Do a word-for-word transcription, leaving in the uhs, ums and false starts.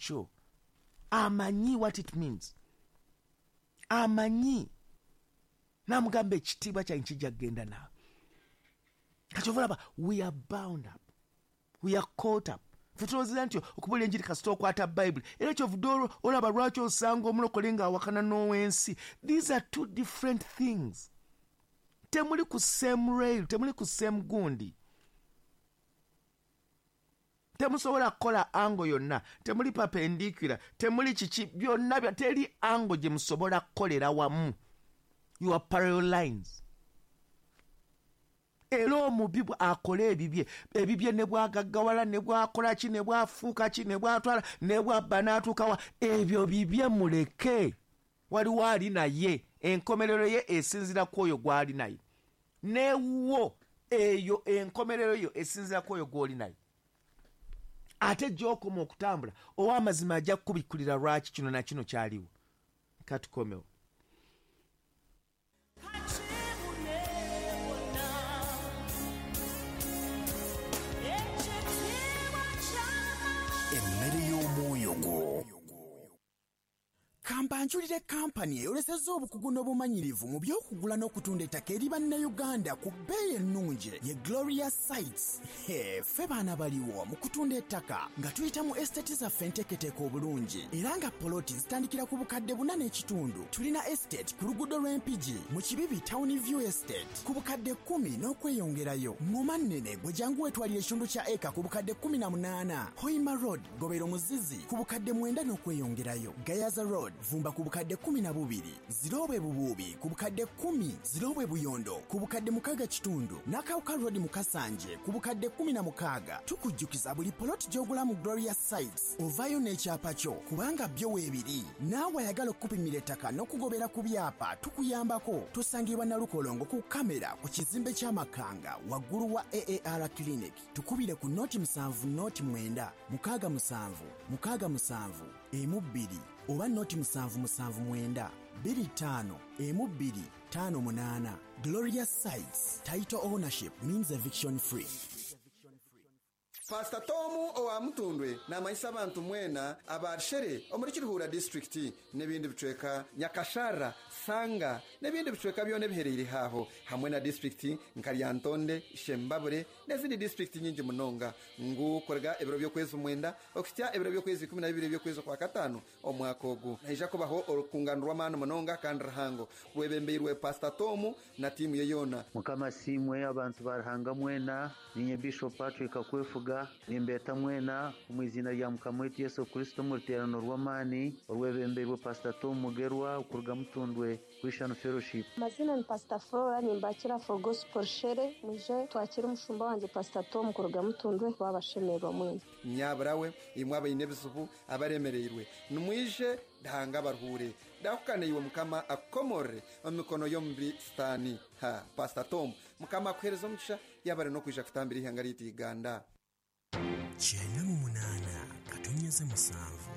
ekyo amanyi what it means amanyi namugamba ekitiibwa kyange kijja kugenda naawe. Kati olaba we are bound up, we are caught up. Ffe tulowooza nti okubuulira enjiri kasita okwata Bayibuli, era kyovudde olaba lwaki osanga omulokole ng'awakana n'ow'ensi. These are two different things. Temuli ku same rail, temuli ku same gundi, temusobola kukola angle yonna, temuli perpendicular, temuli kiki byonna, teri angle gye musobola kukolera wamu. You are parallel lines. Era omubi akola ebibye ebibye ne bwagaggawala ne bwakola ki ne bwafuuka ki ne bwatwala ne bwabba n'atuukawa, ebyo bibye muleke. Waliwo ali naye, enkomerero ye esinziira ku oyo gw'ali naye, newuwo eyo enkomerero yo esinziira ku oyo gw'oli naye. Ate gy'okoma okutambula ow'amazima ajja kukubikkulira lwaki kino na kino kyaliwo. Katukomewo. Emmere y'omwoyo gwo. Kambanjulire kampani eyolesezza obukugu n'obumanyirivu mu by'okugula n'okutunda ettaka eri bannayuganda ku bbeeyi ennungi ye Gloria Sites. Ffe baana baliwo mu kutunda ettaka nga tuyita mu estate zaffe enteeketeeke obulungi, era nga poloti zitandikira ku bukadde buna n'ekitundu. Tulina estate ku luguudo lw'Empigi mu Kibibi Town View Estate ku bukadde kkumi n'okweyongerayo. Ngoma nnene gwe jangu weetwalira ekitundu kya eka ku bukadde kkumi na munaana. Hoima Road Gobero Muzizi ku bukadde mwenda n'okweyongerayo. Gayaza Road Vumba ku bukadde kkumi na bubiri, Zirobwe Bubuubi ku bukadde kkumi, Zirobwe Buyondo ku bukadde mukaaga kitundu, Nakawuka Road mu Kasanje ku bukadde kkumi na mukaaga. Tukujjukiza buli poloti gy'ogula mu Gloria Sites ovaayo n'ekyapa kyo kubanga byo weebiri. Naawe ayagala okukupimira ettaka n'okugobera ku byapa tukuyambako. Tusangibwa Nalukolongo ku kamera ku kizimbe ky'Amakanga waggulu wa A A R Clinic. Tukubire ku noti musanvu noti mwenda mukaaga musanvu mukaaga musanvu emu bbiri oba noti musanvu musanvu mwenda bbiri ttaano emu bbiri ttaano munaana. Gloria Sites, title ownership means eviction free. Pastor Tomu owa Mutundwe n'amanyisa abantu mwena abarshere omuri Kiruhura district n'ebindi bicweka Nyakashara, Sanga n'ebindi bicweka byone biherereye haho hamwe na district nka Lyantonde, Shembabure n'ezindi district nyingi munonga ngu korega ebiro by'okwezi mwenda okutya ebiro by'okwezi ikumi na bibiri by'okwezi kwa katano omwaka ogu naija kubaho orukungano rw'amaani munonga kandi rahango rwebembeirwe Pastor Tomu na timu ye yona. Mukama simwe abantu barahanga mwena ninye Bishop Patrick Akwefuga nimbeta mwena mu izina rya Mukama wetu Yesu Kristo mu ruterano rw'amani orwebembeirwe Pastor Tom Mugerwa okuruga Mutundwe Christian Fellowship. Mazina ni Pastor Flora nimbakira for Gospel Shere muje twakira umushumba wanje Pastor Tom kuruga Mutundwe babashemerwa mwena. Nyaburawe imwe abayine bisubu abaremereirwe numwije dahanga baruhure dakukane iwe Mukama akomore omikono yombi stani ha Pastor Tom Mukama akuhereza omugisha yabare no kwija kutambira ihanga ry'Uganda. Kyenda mu munaana katonyeze musanvu